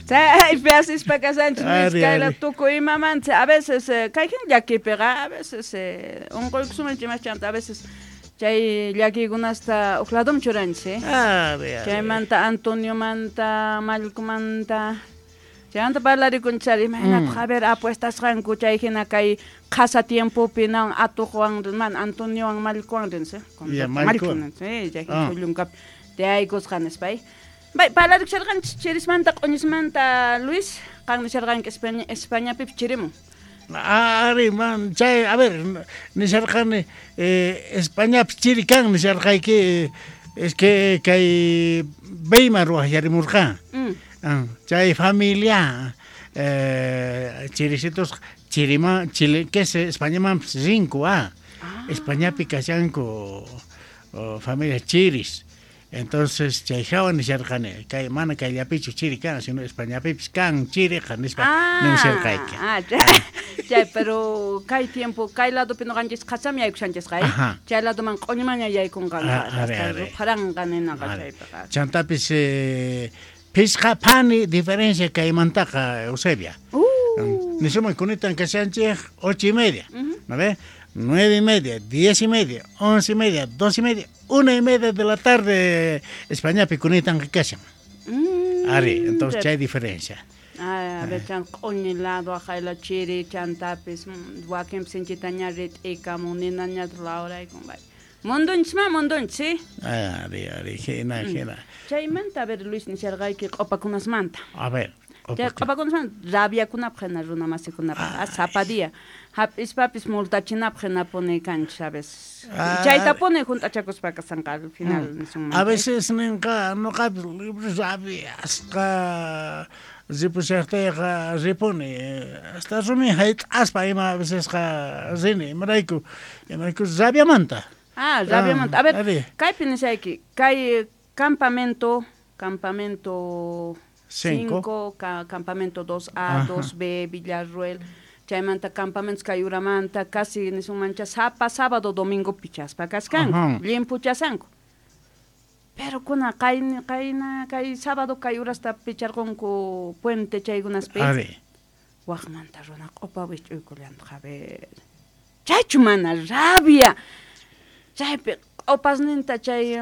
Chaypi asispa kashanchis Ari, kayla ari. tukuy imamanta. A veces kay hina llakipiqa, a veces unquykusunman chimachanta, a veces chay llakiykunasta uj ladoman churanchis, eh. Ari, ari. Chaymanta Antoniomanta, Mallkumanta, chaymanta parlarikunchis ari, imaynataq, a ver, apuestasqanku chay hina kay qhasa tiempopi nan atuqwan, man Antoniowan Mallkuwan rinsi, Ya, Mallku, Mallkuwan. sí, chay hina Ah. chullunkap tiyaykusqa nispa, eh. Bay, parlarikusharqanchis chirismanta, q'uñismanta, Luis, qan nisharqanki España, Españapipi chirimun. Ari, man, chay, a ver, nisharqani, Españapi chiri kan nisharqayki, es que kay Weimar waqyarimurqan. Ah, chay familia, chirisitos, chirima, chile, que es Españamanpis rinku, ah. Españapi kashanku, oh, familia chiris. Entonces, chay hawa nisharqani, kay mana kayllapichu chiri kan, sino Españapipis kan chiriqa nispa nisharqayki. Ah, chay, chay, pero kay tiempo, kay ladopi noqanchis qhasam yaykushanchisqa, eh? Ajá. Chay ladoman q'uñumaña yaykunqanqa, Ah, ari, hasta ari. rupharanqa ninaqa Ari. chaypiqa. Chantapis phisqa phani diferencia kaymantaqa, Eusebia. Nisuman kunitan kashanchej 8:30, ¿no ve? 9:30, 10:30, 11:30, 2:30, 1:30 de la tarde Españapi kunitan kashan. Ari, entonces chay diferencia. Ah, a ver, chan q'uñi lado ajayla chiri, chantapis, wakinpis sinchitaña rit'ikamun, ninañataq lawraykun, bay. Mundunchisma, mundunchis, ¿sí? Ari, ari, jina, jina. Chaymanta, a ver, Luis, nisharqayki q'upakunasmanta. A ver, Chay q'upakunasmanta, rabiakunapaq hina runa masikunapaq, ah, sapa día. Hap'ispapis multachinapaq hinapuni kanchis a veces. Ah. Chaytapuni junt'achakuspa kasanqa al final nisunman. A veces ninqa noqapis rabiasqa ripushaqtayqa ripuni, hasta rumi hayt'aspa ima a vecesqa rini, imarayku, imarayku rabiamanta. Ah, rabiamanta. A ver, ari. kaypi nishayki, kay campamento, campamento 5. 5, campamento 2A, Ajá. 2B, Villarruel, chaymanta campamentos kayuramanta, casi nisunmancha sapa sábado, domingo pichaspa kaskanku, Ajá. llimpuchasanku. Pero kuna qayna, qayna, kay sábado kay urasta picharqunku puente chaykunaspi. Ari. Waqmanta runa q'upa wich'uykullantaq, a ver. Chaychu mana rabia. Chaypi q'upasninta chay,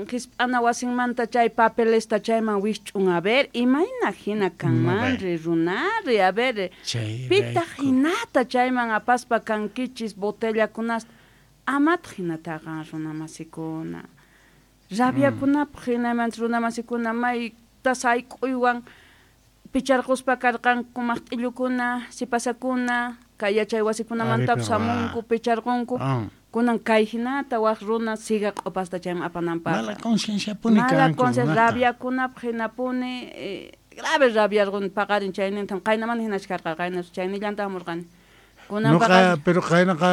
hisp'ana wasinmanta chay papelesta chayman wisch'un, a ver, imayna hina kanmanri runari, a ver, Chayrayku. pitaq hinata chayman apaspa kankichis botellakunasta, amataq hinataqa runa masikuna. Rabiakunapaq hinamanta runa masikuna mayta sayk'uywan picharquspa karqanku maqt'illukuna, sipasakuna, kay yachay wasikunamantapis Ari, pero, hamunku, picharqunku. Ah. Kunan kay hinata waq runa siga q'upasta chayman apananpaq. Mala conciencia puni Mala kanku conciencia, runaqa. rabiakunapaq hinapuni, grave rabiarquni paqarin chaynintam, qaynamanta hinachu karqa, qayna chaynillanta hamurqani. Kunan Noqa, paqarin pero qaynaqa